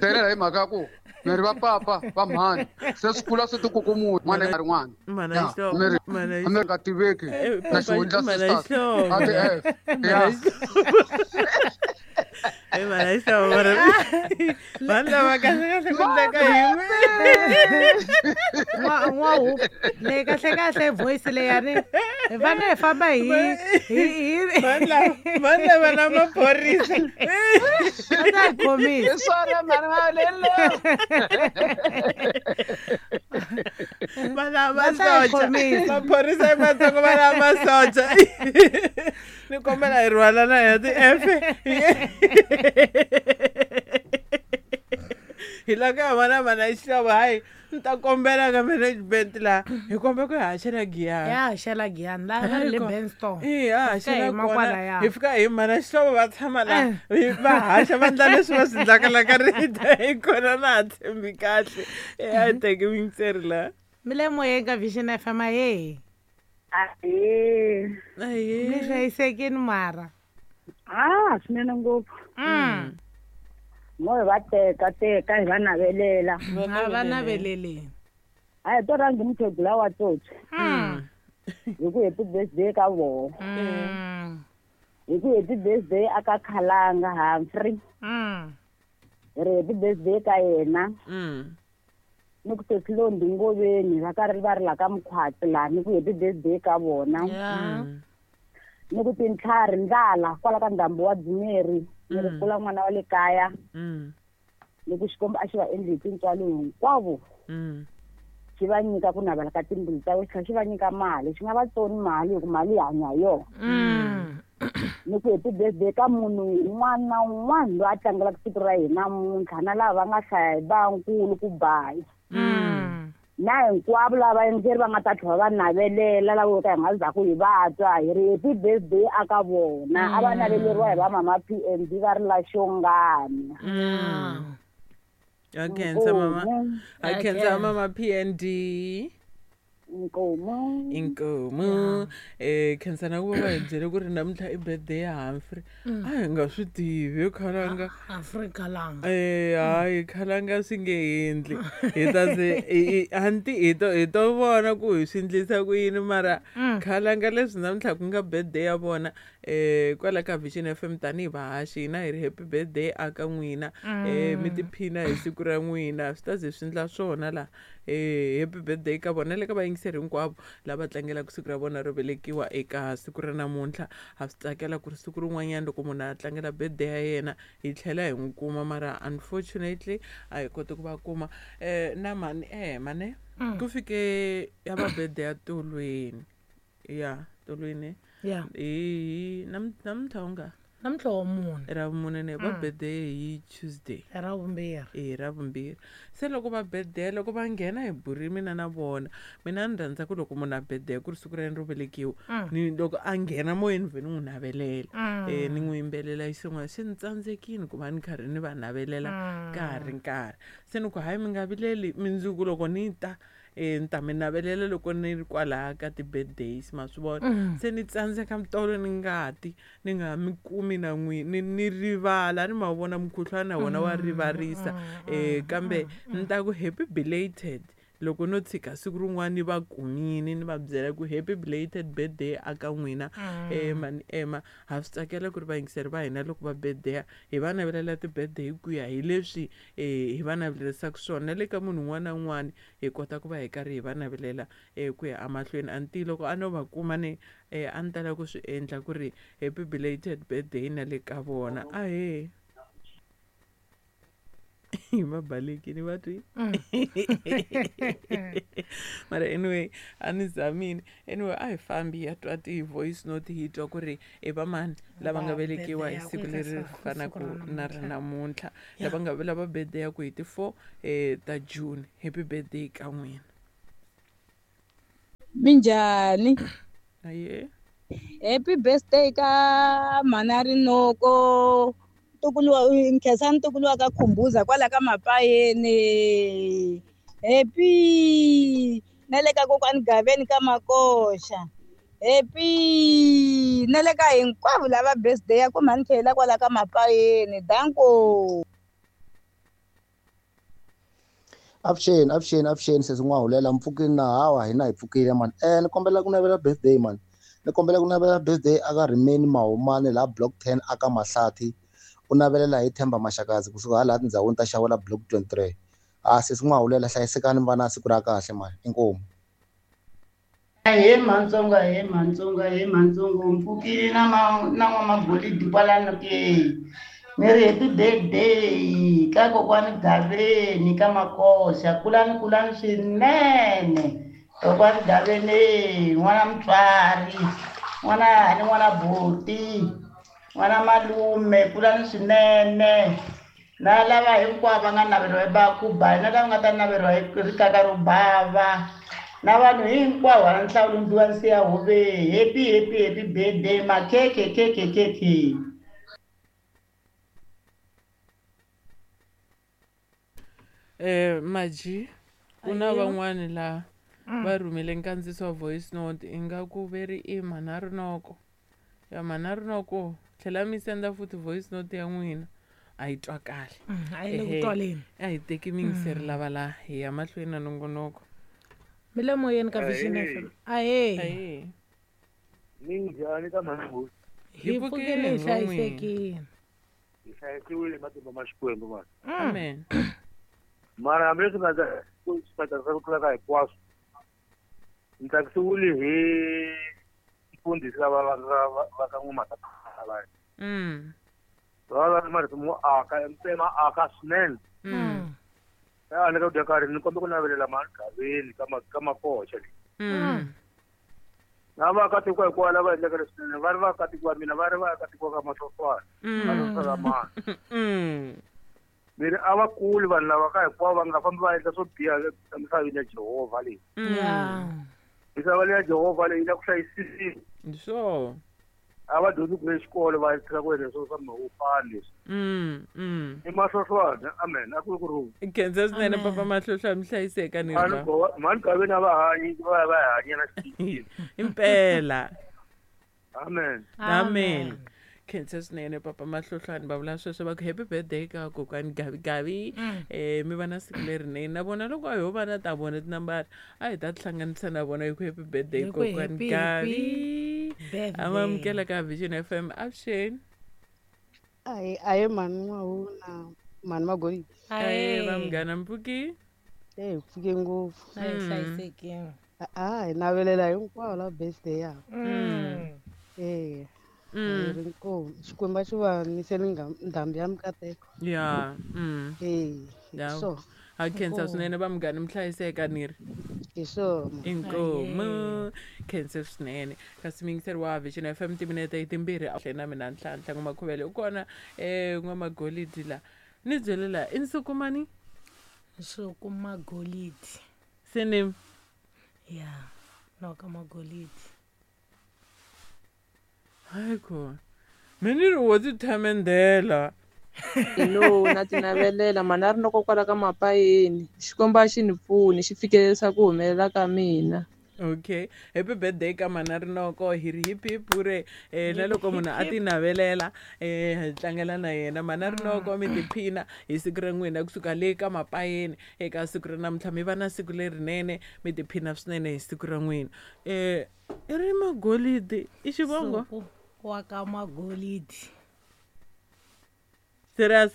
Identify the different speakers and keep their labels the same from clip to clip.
Speaker 1: Delela hi mhaka ya ku mi ri va papa va mhani se swi kula swi tikukumuxa n'wana nga ri n'wana.
Speaker 2: Mhana
Speaker 1: Ya,
Speaker 2: Xihlovo,
Speaker 1: mi ri
Speaker 2: mhana
Speaker 1: a mi nga tiveki na xihundla
Speaker 2: Mhana
Speaker 1: sisters.
Speaker 2: Xihlovo.
Speaker 1: A ti F. Ya.
Speaker 2: Eh, mhana Xihlovo, mara vanhu lava kahle kahle ku endleka yini?
Speaker 3: N'wahuku leyi kahle kahle voice leyani hi fanele hi famba hi hi hi
Speaker 2: Vanhu lava vanhu lava na maphorisa.
Speaker 3: Va ta hi khomisa.
Speaker 1: Hi swona mhani Mavelelo.
Speaker 2: Va lava
Speaker 3: Va ta hi
Speaker 2: masocha.
Speaker 3: khomisa.
Speaker 2: Maphorisa i matsongo va lava masocha. Ni kombela hi rhwala na hina ti-F. Hi lava ku ya vona mhana Xihlovo hayi ni ta kombela ka management laha hi kombela ku hi haxela giyani.
Speaker 3: Ya haxela giyani laha va ri le Benston.
Speaker 2: Eh, ha
Speaker 3: Hi
Speaker 2: haxela
Speaker 3: yima
Speaker 2: kona
Speaker 3: kwalaya.
Speaker 2: hi fika hi mhana Xihlovo va tshama laha
Speaker 3: Eh.
Speaker 2: va haxa va endla leswi va swi endlaka la ka radio hi kona na ha tshembi kahle. Eh, a hi teki muyingiseri laha.
Speaker 3: Mi le moyeni ka Vision FM ahee.
Speaker 4: Ahee.
Speaker 2: Ahee.
Speaker 3: Mi hlayisekini mara.
Speaker 4: Ah, swinene ngopfu. Mo hi va teka teka hi va navelela.
Speaker 3: A va naveleleni.
Speaker 4: A hi to rhangi mukhegula wa tsotsi. Hi ku happy birthday ka voho. Hi ku happy birthday a ka Khalanga Humphrey. Hi ri happy birthday ka yena. Ni ku Sesi Londi Ngoveni va karhi va ri la ka Mkhwatsi laha ni ku happy birthday ka vona. Ni ku tintlhari ndlala kwala ka ndhambu wa Dzumeri ni ri kula n'wana wa le kaya. Ni ku Xikwembu a xi va endli hi tintswalo hinkwavo. Xi va nyika ku navela ka timbilu ta wena xi tlhela xi va nyika mali xi nga va tsoni mali hi ku mali hi hanya hi yona. Ni ku happy birthday ka munhu un'wana na un'wana loyi a tlangelaka siku ra hina namuntlha na lava va nga hlaya hi vankulu ku bayi. Na hinkwavo lava vayingiseri va nga ta tlhela va navelela lava vo ka hi nga zaku hi va twa hi ri happy birthday a ka vona a va naveleriwa hi va mama PNB va ri la Xongani.
Speaker 2: Ha khensa mama.
Speaker 4: Inkomu.
Speaker 2: Ha khensa mama PND.
Speaker 4: Inkomu.
Speaker 2: Inkomu. Eh khensa na ku va va hi byele ku ri namuntlha i birthday ya Humphrey. A hi nga swi tivi khalanga.
Speaker 3: Humphrey Khalanga.
Speaker 2: Eh hayi khalanga swi nge endli. Hi ta ze anti hi to hi to vona ku hi swi endlisa ku yini mara khalanga leswi namuntlha ku nga birthday ya vona kwala ka Vision FM tanihi vahaxi hina hi ri happy birthday a ka n'wina. Mi tiphina hi siku ra n'wina swi ta ze swi endla swona laha. Happy birthday ka vona le ka vayingiseri hinkwavo lava tlangelaka siku ra vona ro velekiwa eka siku ra namuntlha. Ha swi tsakela ku ri siku rin'wanyana loko munhu a tlangela birthday ya yena hi tlhela hi n'wi kuma mara unfortunately a hi koti ku va kuma. Na mhani mhani ku fike ya va birthday ya Tolweni. Ya Tolweni.
Speaker 3: Ya.
Speaker 2: Hi namuntlha u nga?
Speaker 3: Namuntlha wa mune.
Speaker 2: Ra vumune ne va birthday hi Tuesday.
Speaker 3: Ra vumbirhi.
Speaker 2: Eh ra vumbirhi. Se loko va birthday loko va nghena hi buri mina na vona mina ni rhandza ku loko munhu a birthday ku ri siku ra yena ro velekiwa ni loko a nghena moyeni vhe ni n'wi navelela. Ni n'wi yimbelela xin'wana se ni tsandzekile ku va ni karhi ni va navelela ka ha ri nkarhi. Se ni ku hayi mi nga vileli mundzuku loko ni ta ni ta mi navelela loko ni ri kwalaya ka ti-birthdays ma swi vona. Se ni tsandzeka mitolo ni ngati ni nga mi kumi na n'wi ni rivala ni ma vona mukhuhlwana na wona wa rivarisa. Kambe ni ta ku happy belated loko no tshika siku rin'wana ni va kumile ni va byela ku happy belated birthday a ka n'wina. Mhani Emma ha swi tsakela ku ri vayingiseri va hina loko va birthday hi va navelela ti-birthday ku ya hi leswi hi va navelerisaka swona na le ka munhu un'wana na un'wana hi kota ku va hi karhi hi va navelela ku ya emahlweni. Anti loko a no va kuma ni a ni tala ku swi endla ku ri happy belated birthday na le ka vona. Ahee. Va balekile va twi. Mara anyway a ni zamile. Anyway a hi fambi hi ya twa ti-voice note hi twa ku ri i va mani lava nga velekiwa hi siku leri fanaka na ra namuntlha. Lava nga lava birthday ya ku hi ti-4 ta June. Happy birthday ka n'wina.
Speaker 5: Minjhani?
Speaker 2: Aye.
Speaker 5: Happy birthday ka mhana Rinoko. Ntukulu wa Nkhensani ntukulu wa ka Khumbuza kwala ka Mapayeni. Happy na le ka kokwani Gaveni ka Makoxa. Happy na le ka hinkwavo lava birthday ya ku mhani Khela kwala ka Mapayeni. Danko.
Speaker 6: Avuxeni sesi N'wahulela mpfukini na hawa hina hi pfukile mani. Ni kombela ku navela birthday mani. Ni kombela ku navela birthday aka Rimeni Mahumani laha block 10 aka Mahlathi. U navelela hi Themba Maxakazi kusuka hala tindhawini ta Xawela block 23. Sesi N'wahulela hlayisekani mi va na siku ra kahle mani. Inkomu.
Speaker 7: He Matsonga mpfukile na n'wamagolidi kwalano ke. Ni ri happy birthday ka kokwani Gaveni ka Makoxa, kulani swinene. Kokwani Gaveni, n'wana mutswari, n'wana hani, n'wana buti, n'wana malume, kulani swinene. Na lava hinkwavo va nga naveriwa hi Bakuba, na lava nga ta naveriwa hi rikaka ro bava, na vanhu hinkwavo hala nhlawulo ndliwa nsiya hove. Happy birthday makhekhe khekhe khekhe.
Speaker 2: Maji ku na van'wani la va rhumele nkandziyiso wa voice note ingaku ve ri i Mhana Rinoko. Ya Mhana Rinoko tlhela mi senda futhi voice note ya n'wina a yi twakali.
Speaker 3: A yi le ku twaleni.
Speaker 2: A hi teki miyingiseri lava la hi ya mahlweni na nongonoko.
Speaker 3: Mi le moyeni ka Vision FM. Ahee.
Speaker 8: Minjhani ka mhani?
Speaker 3: Hi pfukile hi hlayisekile.
Speaker 8: Hi hlayisiwile hi matimba ma Xikwembu mani.
Speaker 2: Amen.
Speaker 8: Mara hambileswi nga swi tsakisa ku tlula ka hinkwaswo, ni tsakisiwile hi mfundhisi lava va ka N'wamataphala. Va va marito mo aka ma aka swinene. A ni ka dya karhi ni kombe ku navelela mhani Gaveni ka Makoxa leyi. Na vaakatiko hinkwavo lava endlaka leswinene va ri vaakatiko va mina, va ri vaakatiko ka Mahlofana, va mani. Mi ri a va kuli vanhu lava ka hinkwavo va nga fambi va endla swo biha emisaveni ya Jehovha leyi. Misava leyi ya Jehovha leyi yi la ku hlayisiwa.
Speaker 2: Sure.
Speaker 8: A va dyondzi ku xikolo va tlhela ku endla swo swa mahupani leswi. I Mahlohlwana, amen. A ku ri ku rhula.
Speaker 2: Khensa swinene papa Mahlohlwana, mi hlayiseka ni ri.
Speaker 8: Mhani Gaveni a va hanyi, va va hanya na xikili.
Speaker 2: Impela.
Speaker 8: Amen.
Speaker 2: Amen. Khensa swinene papa Mahlohlwana, va vula sweswo va ku happy birthday ka kokwani Gavi Gavi. Mi va na siku lerinene na vona loko a ho va na ta vona tinambara a hi ta tihlanganisa na vona hi ku happy birthday kokwani Gavi. Amamukela ka Vision FM. Avuxeni.
Speaker 9: Ahe mhani N'wahuna, mhani Magolidi.
Speaker 2: Ahe vanghana mpfuki.
Speaker 9: Hi pfuke ngopfu.
Speaker 3: A hi hlayisekile.
Speaker 9: Hi navelela hinkwavo la birthday ya. Inkomu. Xikwembu a xi va niseli ndhambi ya mikateko.
Speaker 2: Ya.
Speaker 9: So.
Speaker 2: Ha khensa swinene va munghana mi hlayiseka ni ri.
Speaker 9: Hi swona.
Speaker 2: Inkomu. Khensa swinene. Kasi miyingiseri wa Vision FM timinete i timbirhi a tlhela na mina Nhlanhla N'wamakhovele u kona N'wamagolidi la. Ni byele la i Nsuku mani?
Speaker 3: Nsuku Magolidi.
Speaker 2: Surname?
Speaker 3: Ya, no ka Magolidi.
Speaker 2: Hayi khona. Mina ni ri wo ti thamendela.
Speaker 10: Hello, na ti navelela mhani a ri loko kwala ka mapayeni. Xikwembu a xi ni pfuni xi fikelerisa ku humelela ka mina.
Speaker 2: Okay, happy birthday ka mhani Rinoko hi ri hip hip hure na loko munhu a ti navelela hi tlangela na yena mhani Rinoko mi tiphina hi siku ra n'wina kusuka le ka mapayeni eka siku ra namuntlha mi va na siku lerinene mi tiphina swinene hi siku ra n'wina. I ri Magolidi i xivongo?
Speaker 3: Nsuku wa ka Magolidi.
Speaker 2: Serious?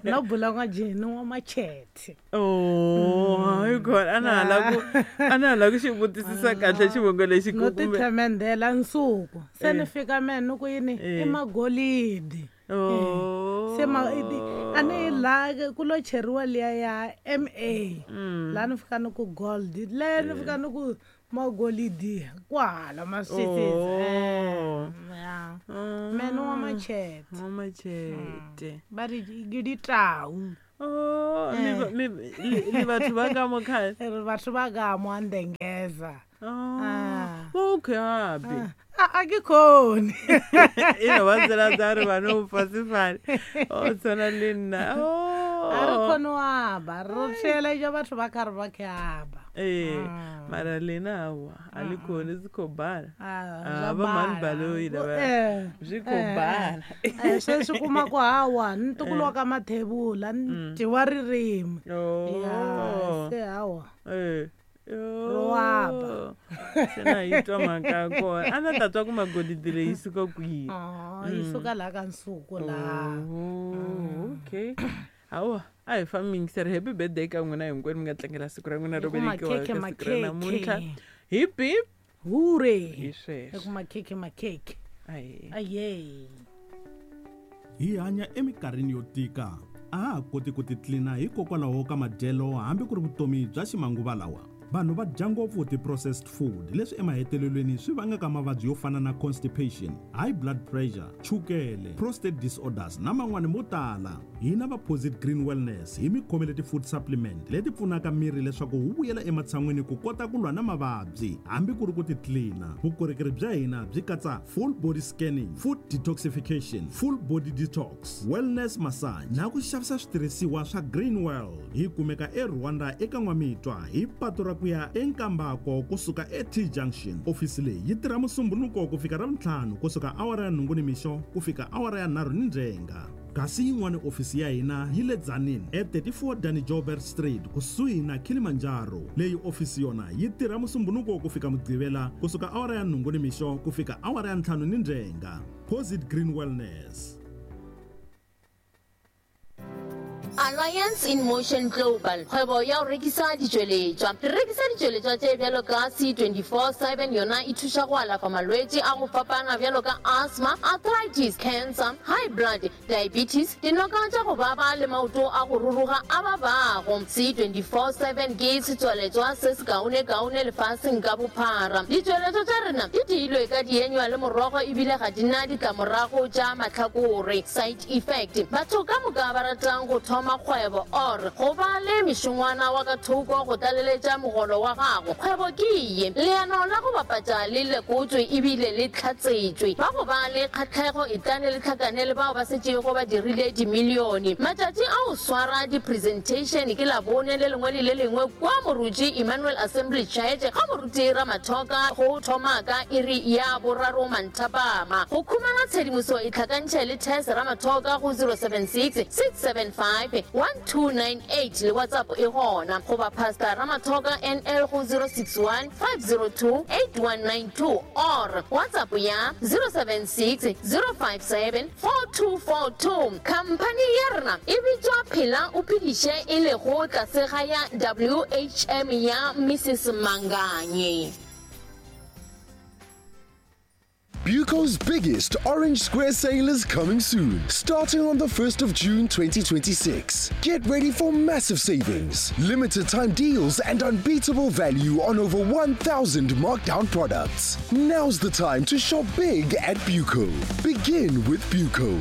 Speaker 3: No bula nga jeni wa machete.
Speaker 2: Oh, hayi khona a na hala ku xi vutisisa kahle xivongo lexi
Speaker 3: No tithemendela Nsuku. Se ni fika me ni ku yini i Magolidi.
Speaker 2: Oh.
Speaker 3: Se ma a ni la ku lo cheriwa liya ya MA. La ni fika ni ku gold, le ni fika ni ku Magolidi kwala maswitsi. Ya. Mene wa machete.
Speaker 2: Wa machete.
Speaker 3: Ba ri giditau.
Speaker 2: Oh, ni batho ba ka mo khale.
Speaker 3: Re batho ba ka mo andengeza.
Speaker 2: Oh, okay, happy.
Speaker 3: A ke khone.
Speaker 2: E no ba tsela tsa re bana o fa sefane. O tshwana le nna. Oh.
Speaker 3: A ri koni u amba, ro theeledza vhathu vha kha ri vha khe amba.
Speaker 2: Ee, mara lena hawa a ḽi koni, zwi khou bala.
Speaker 3: Ah,
Speaker 2: Ah,
Speaker 3: zwa
Speaker 2: vha mani
Speaker 3: bala.
Speaker 2: baloi lava
Speaker 3: Eh,
Speaker 2: zwi khou
Speaker 3: eh,
Speaker 2: bala.
Speaker 3: Eh, sweswi kuma ku hawa ni ntukulu wa ka mathebula ni dyiwa ririmi. Ya,
Speaker 2: Oh.
Speaker 3: se hawa.
Speaker 2: Eh.
Speaker 3: Ro amba.
Speaker 2: Se na yi twa mhaka ya kona, a na ta twa ku magolidi leyi suka kwihi.
Speaker 3: Oh, yi suka laha ka nsuku laha.
Speaker 2: Oh, okay, hawa a hi fambi yingiseri. Happy birthday ka n'wina hinkwenu mi nga tlangela siku ra n'wina ro
Speaker 3: Hi ku
Speaker 2: velekiwa
Speaker 3: makhekhe,
Speaker 2: ka siku ra namuntlha.
Speaker 3: makhekhe.
Speaker 2: Hi bip
Speaker 3: Hure.
Speaker 2: Hi sweswo.
Speaker 3: Hi ku makhekhe, makhekhe.
Speaker 2: Aye.
Speaker 3: Aye.
Speaker 11: Hi hanya eminkarhini yo tika, a ha ha koti ku titlina hikokwalaho ka madyelo hambi ku ri vutomi bya ximanguva lawa. Vanhu va dya ngopfu ti-processed food, leswi emahetelelweni swi vangaka mavabyi yo fana na constipation, high blood pressure, chukele, prostate disorders na man'wani mo tala. Hina va Posit Green Wellness hi mi khomele ti-food supplement leti pfunaka miri leswaku wu vuyela ematshan'wini ku kota ku lwa na mavabyi hambi ku ri ku titlina. Vukorhokeri bya hina byi katsa full body scanning, food detoxification, full body detox, wellness massage na ku xavisa switirhisiwa swa Green World. Hi kumeka eRwanda eka N'wamitwa hi patu ra ku ya eNkambako kusuka eT Junction. Ofisi leyi yi tirha Musumbunuko ku fika Ravuntlhanu kusuka awara ya 8 nimixo ku fika awara ya 3 nindzhenga, kasi yin'wana ofisi ya hina yi le Tzaneen e34 Danny Joubert Street kusuhi na Kilimanjaro. Leyi ofisi yona yi tirha Musumbunuko ku fika Mugqivela kusuka awara ya 8 nimixo ku fika awara ya 5 nindzhenga. Posit Green Wellness.
Speaker 12: Alliance in Motion Global, kgwebo ya go rekisa ditšweletšwa. Re rekisa ditšweletšwa tše bjalo ka C24/7, yona e thuša go alafa malwetši a go fapana bjalo ka asthma, arthritis, cancer, high blood, diabetes, dinoka tša go baba le maoto a go ruruga a babago. C24/7 ke setswaletšwa se sekaonekaone lefaseng ka bophara. Ditšweletšwa tša rena di diilwe ka dienywa le morogo ebile ga di na ditlamorago tša mahlakore, side effect. Batho ka moka ba ratang go thoma kgwebo or go ba le mešongwana wa ka thoko go tlaleletša mogolo wa gago, kgwebo ke ye. Leano la go bapatša le lekotšwe ebile le hlatsetšwe. Ba go ba le kgahlego etlane le hlakane le bao ba setšego ba dirile dimilione. Matšatši a go swara di-presentation ke Labone le lengwe le le lengwe kua Moruti Emmanuel Assembly Church ga Moruti Ramathoka go thoma ka iri ya boraro manthapama. Go khumana tshedimoso itlhakantšhe le Tess Ramathoka go 076 675 1298 le WhatsApp e gona, goba Pastor Ramathoka NL go 061 502 8192 or WhatsApp ya 076 057 4242. Khamphani ya rena e bitšwa Phela o Phediše e lego tlase ga ya WHM ya Mrs Manganye.
Speaker 13: Buco's biggest Orange Square sale is coming soon, starting on the 1st of June 2026. Get ready for massive savings, limited time deals, and unbeatable value on over 1,000 markdown products. Now's the time to shop big at Buco. Begin with Buco.